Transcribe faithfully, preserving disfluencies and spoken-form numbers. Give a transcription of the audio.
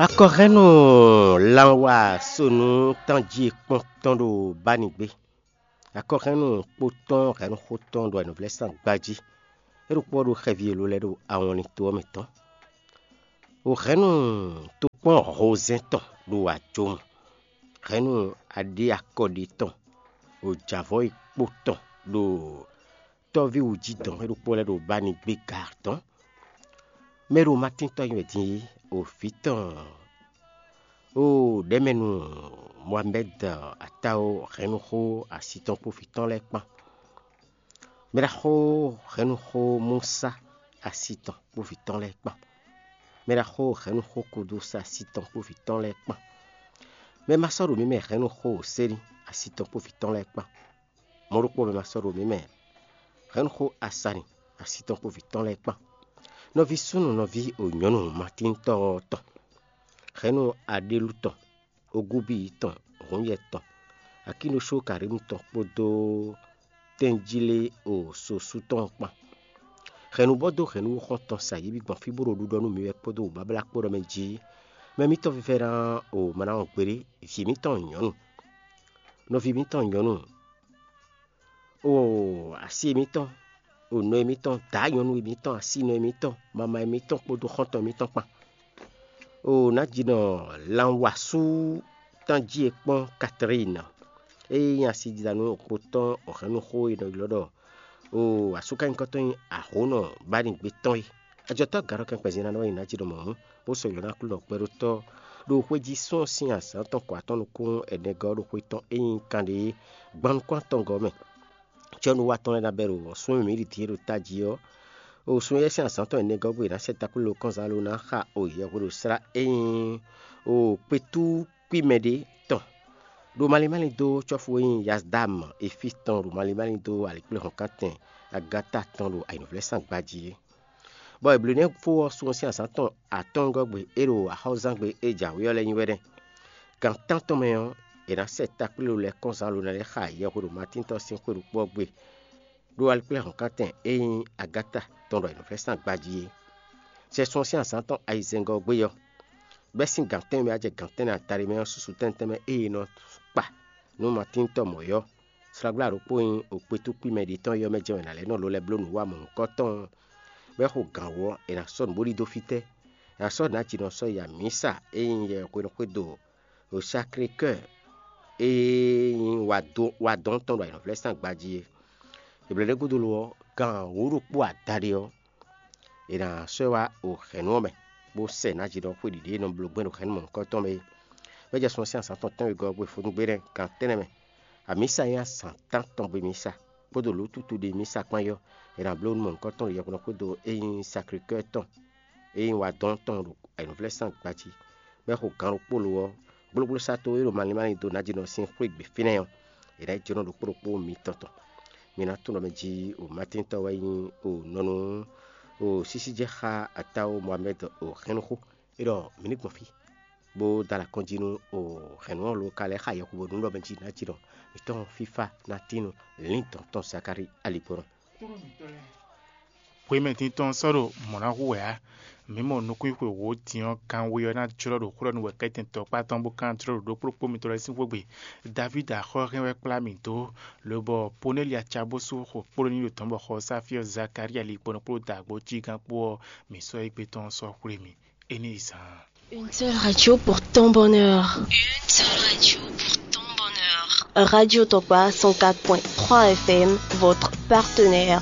Akɔhɛ́nnu lanwa sonu tánjí kpɔ́n tɔn ɖo bánigbe. Akɔhɛ́nnu kpó tɔn hɛ̌nnu xó tɔn ɖo ayǐnúvlɛ́sán gbají. É ɖo kpɔ́ ɖo xɛví e ló lɛ́ɛ ɖo awɔnlin to ɔ́ mɛ tɔn. Hɛ̌nnu tokpɔ́n hozɛ́n tɔn ɖo ajomɔ. Hɛ̌nnu aɖé akɔɖi tɔn ɖo jǎvɔ́ e kpó tɔn ɖo tɔ́ví wǔjidɔn e ɖokpó lɛ́ɛ ɖo bánigbe ga tɔn. Mɛ ɖo Matín tɔn nyi wɛ din é, o vǐ tɔn, o ɖɛ̌mɛnu Mohamɛ́d Atáwo hɛ̌nnuxó asi tɔn kpó vǐ tɔn lɛ́ɛ kpán. Mɛ ɖaxó hɛ̌nnuxó Musa asi tɔn kpó vǐ tɔn lɛ́ɛ kpán. Mɛ ɖaxó hɛ̌nnuxó Kudúsa asi tɔn kpó vǐ tɔn lɛ́ɛ kpán. Mɛ ma sɔ́ ɖo mǐ mɛ hɛ̌nnuxó Seli asi tɔn kpó vǐ tɔn lɛ́ɛ kpán. Mɔ̌ ɖokpó mɛ ma sɔ́ ɖo mǐ mɛ hɛ̌nnuxó Asani asi tɔn kpó vǐ tɔn lɛ́ɛ kpán. Nɔví súnnu nɔví o nyɔ̌nu Matíntɔ́ ɔ́ tɔn. Hɛ̌nnu Aɖélu tɔn, Ogúbíyi tɔn, Hǔnyɛ tɔn, Akínoshókarímu tɔn kpódó tɛ́njílé o sosú tɔn kpán. Hɛ̌nnu bɔ dó hɛ̌nnu xɔ́ntɔn sa yě bǐ gbɔn fí bó ɖo ɖiɖɔ nú mi wɛ kpódó wǔbáblá kpó ɖɔ mɛ jí. Mɛ mǐtɔn vívɛ́ná o ma ná wɔn gbeɖé, vǐ mǐtɔn nyɔ̌nu, nɔví mǐtɔn nyɔ̌nu, o asi émítɔn, o nɔ émítɔn, dǎ nyɔ̌nu émítɔn, asínɔ émítɔn, mama émítɔn kpódó xɔ́ntɔn émítɔn kpán. O nǎjínɔ lanwasú tánjí e kpɔ́n Katlín, ée nyí asididanu kpotɔ́ ɔ̌hɛ́nnuxó e nɔ ylɔ́ ɖɔ o asúkanyíkɔtɔn nyí ahǒnɔ bánigbe tɔn é. Ajɔtɔ́ garɔkɛn kpɛzin ná nɔ wɛ nyí nǎjínɔ mɔ̌hún, bó sɔ́ ylɔ̌ ná Aklúnɔ kpɛɖótɔ́ ɖo xwéjí sún sín azǎn tɔn kɔ atɔ́ nukún ɛnɛgɔ́ ɖo xwé tɔn e nyí kanɖé gbannukún atɔngɔ́ mɛ. Cɛ́núwa tɔn lɛ́ɛ ná bɛ́ ɖo sun e mǐ ɖi din é ɖo tají ɔ́, o sun éyɛ́ sín azǎn tɔn ɛnɛgɔ́ gbe è nǎ sɛ takplélo kɔnzán lo ná xa o yɛhweɖoslá e nyí o kpetú kpí mɛ ɖé tɔn. Ɖo malín málín dó cɔ́fu e nyí Yazdam Efí tɔn ɖo malín málín dó alikpléhɔ̌nkántɛn Agata tɔn ɖo ayǐnúvlɛ́sán gbají é. Bɔ è blǒ nɛ́ fó ɔ́ sun ɔ́ sín azǎn tɔn atɔ́ɔ́ngɔ́ gbe é ɖo axɔ́zán gbe e jǎwe ɔ́ lɛ́ɛ nyí wɛ nɛ́. Gan tántɔn mɛ ɔ́, è nǎ sɛ takplélo lɛ́ɛ kɔnzán lo ná lɛ́ xa yɛhweɖo Matín tɔn sín xwe ɖokpó ɔ́ gbe, ɖó alikpléhɔ̌nkántɛn e nyí Agáta tɔn ɖo ayǐnúvlɛ́sán gbají é. Sɛ sun ɔ́ sín azǎn tɔn ayizɛ́ngɔ́ ɔ́ gbe ɔ́, bɛ́ sín gan tɛ́nwe mɛ wá jɛ gan tɛ́nnɛ adaɖé mɛ ɔ́, susu tɛ́ntin tɛ́nmɛ e è nɔ kpa nú Matín tɔn mɔ̌ é ɔ́, slagbla ɖokpó e nyí okpétúkpí mɛ ɖě tɔn é ɔ́ mɛ jɛ́n wɛ è nǎ lɛ́ nɔ lo lɛ́ bló nǔ wa mɔ̌hunkɔtɔn ɔ́, bɔ é xo gǎn wú ɔ́, è nǎ sɔ́ nǔ bó ɖidó fítɛ́? È nǎ sɔ́ nǎ jǐnɔ sɔ́ yi amǐsa e nyí yɛ hwenu xwé do ɖo Saklekɔ́ɔ e nyí wadɔn tɔn ɖo ayǐnɔvlɛ́sán gbají é. È blǒ ɖě gúdo lo ɔ́, gan wǒ ɖokpó adaɖé ɔ́, è nǎ sɔ́ ɛ wá o hɛ̌nnu ɔ́ mɛ, bó sɛ nǎ jǐnɔ xwé ɖiɖe e nɔ bló gbɛn ɖo hɛ̌nnu mɔ̌hunkɔtɔn mɛ é. Bɔ é jɛ sun ɔ́ sín azǎn tɔn tɛ́nwegɔ́ ɔ́ gbe fó nú gbe nɛ́ gan tɛ́nnɛ mɛ. Amǐsa e nyí azǎn tántɔn gbe mísa kpódó lǒ tutu ɖe mísa kpán é ɔ́, è nǎ bló nú mɔ̌hunkɔtɔn ɖo yɛhweɖɔ xwédo e nyí Saklekɔ́ɔ tɔn e nyí wadɔn tɔn ɖo ayǐnúvlɛ́sán gbají, bɔ é xo gǎn ɖokpó lo ɔ́, gblógblósátó e ɖo malín málín dó nǎjínɔ sín xwé gbe fínɛ́ ɔ́, è nǎ yi jlɔ́n ɖokpó ɖokpó mitɔn tɔn. Mi ná tunwun ɖɔ mɛ jí o Matíntɔ́ wɛ nyí o nɔnu o sísí jɛ xá atáwo Mohamɛ́d o hɛ́nnuxó. É ɖɔ mǐ ní gbɔn fí, bó dó alɔ kɔn jí nú o hɛ̌nnu ɔ́ lo ka lɛ́ xa yɛhweɖo nú ɖɔ mɛ jí nǎjínɔ mǐtɔn fífá ná tín nú lǐndɔ̌n tɔn Zakalíi aligbɔnɔ. Hwemɛ tintɔn sɔ́ ɖo mɔ̌ ná hu wɛ ǎ. Mǐ mɔ nukúnxwe wǒ din ɔ́, kanwe ɔ́ ná jlɔ́ ɖo xó ɖɔ nú wɛ̌kɛ́tɛn tɔkpá tɔn bó kán jlɔ́ ɖo ɖokpó ɖokpó mitɔn lɛ́ɛ sín xwé gbe. Davídi axɔ́ hɛn wɛ kplá mì dó, lobɔ Ponɛ́li acabúsú xo kplɔ́ n'i ɖo tɔ̌n bɔ xɔ Sáfíɔ Zakalía ligbɔnɔ kpó dǎgbó jígán kpó ɔ́, mǐ sɔ́ égbé tɔn ɔ́ sɔ́ xwlé mì. É ní yi zaan. Une seule radio pour ton bonheur. Une seule radio pour ton bonheur. Radio Tokpa cent quatre point trois F M, votre partenaire.